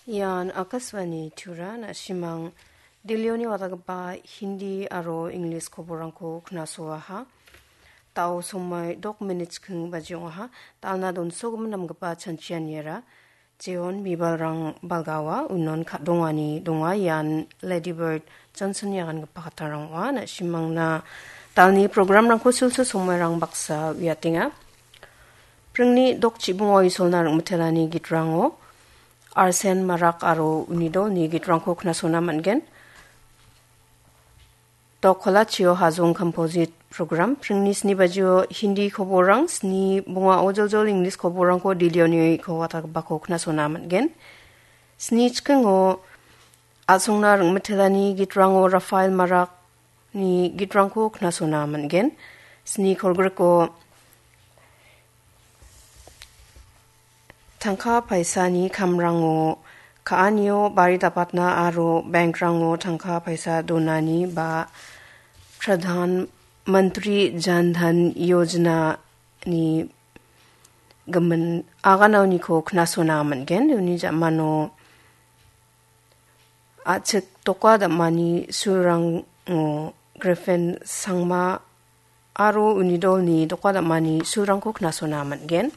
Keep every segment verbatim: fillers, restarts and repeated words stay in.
Ian Akashvani Tura, na·simang Delhioni watagipa Hindi aro English koborrangko knasoaha. Tao somoi dok minit chikking baji ong·aha. Talna donsogimin namgipa chanchianiara jeon bibalrang balgaoa, unon ka·dongani donga. Ian Lady Bird Johnson-ni agangipa kattarang ong·a. Na·simangna talni programrangko sulsul somoirang baksa uiatenga. Pringni dok chibongo isolna ring·mitelani gitrango Arsen Marak aro uni dolni gitrangko knasona man·gen. Dok Kolachio Hajong Composite Program, pringni sni bajio Hindi koborrang, sni bongao joljol English koborrangko Delhioniko watagipako knasona man·gen. Sni chikingo a·songna ring·mitelani gitrango Rafael Marakni gitrangko knasona man·gen. Sni kolgriko tangka paisani kamrango ka·anio bari dapatna aro bankrango tangka paisa donani ba Pradhan Mantri Jan Dhan Yojana-ni gimin aganaoniko knasona man·gen. Uni ja·mano a·chik doka dam·ani sulrango Griffin Sangma aro uni dolni doka dam·ani sulrangko knasona man·gen.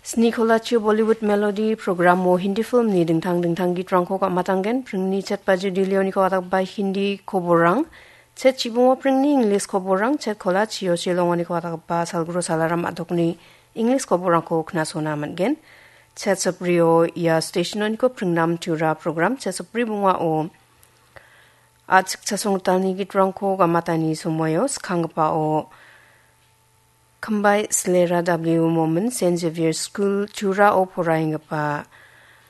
Sni kolachio Bollywood Melody programo Hindi filmni dingtang dingtang gitrangko gam·atanggen. Pringni chet bajio Delhioniko watagipba Hindi koborrang, chet chibongo pringni English koborrang, chet kolachio Shillongoniko watagipba Salguru Salaram a·dokni English koborrangko knasona man·gen. Chet saprio ia stationoniko pringnam Tura program, chet sapri bongao a·chik chasong gitalni gitrangko gam·atani somoio, skanggipao Khambai Slera W Momin, Saint Xavier School Turao poraienggipa